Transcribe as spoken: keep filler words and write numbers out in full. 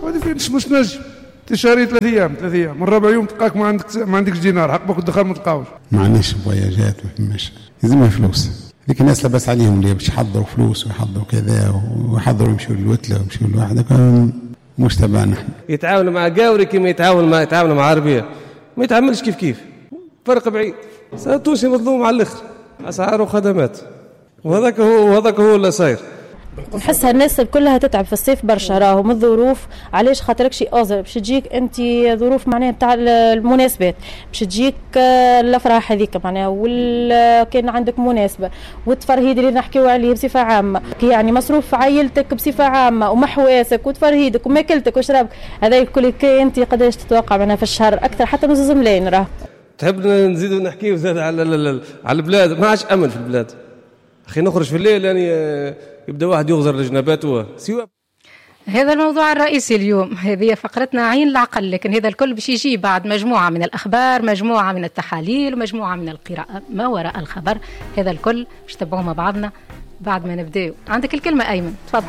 وهذه مش مش نجم تشهري ثلاث ايام، ثلاث ايام من ربع يوم تلقاك ما عندك ما عندكش دينار، حق الدخان ما تلقاوش. ما عندناش voyage ات، ما فماش، لازمها فلوس. هذيك الناس لاباس عليهم اللي باش يحضروا فلوس ويحضروا كذا ويحضروا يمشوا للوتله ويمشوا لواحد، مش تبعنا. يتعاونوا مع قاوري كما يتعاون مع يتعاونوا مع عربية، ما يتعاملش كيف كيف، فرق بعيد. التونسي مظلوم على الاخر، اسعار وخدمات، وهذاك هو وهذاك هو اللي صاير. نحسها الناس كلها تتعب في الصيف برشا راهو من الظروف. علاش؟ خاطرك شي اوزر باش تجيك انت ظروف معناها نتاع المناسبات، باش تجيك الافراح هذيك معناها، ولا كان عندك مناسبة والتفرهيد اللي نحكيو عليه بصفة عامة، يعني مصروف عائلتك بصفة عامة ومحواسك وتفرهيدك وماكلتك وشرابك، هذا الكل انت قداش تتوقع معناها في الشهر؟ اكثر حتى من زوز ملايين راه. تحب نزيدوا نحكيو زاد على على البلاد؟ ما عادش امن في البلاد اخي، نخرج في الليل يعني يبدا واحد يغزر لجنباته سوى. هذا الموضوع الرئيسي اليوم، هذه فقرتنا عين العقل، لكن هذا الكل باش يجي بعد مجموعة من الأخبار، مجموعة من التحاليل، ومجموعة من القراءة ما وراء الخبر. هذا الكل باش تبعوه مع بعضنا بعد ما نبداو. عندك الكلمة أيمن، تفضل.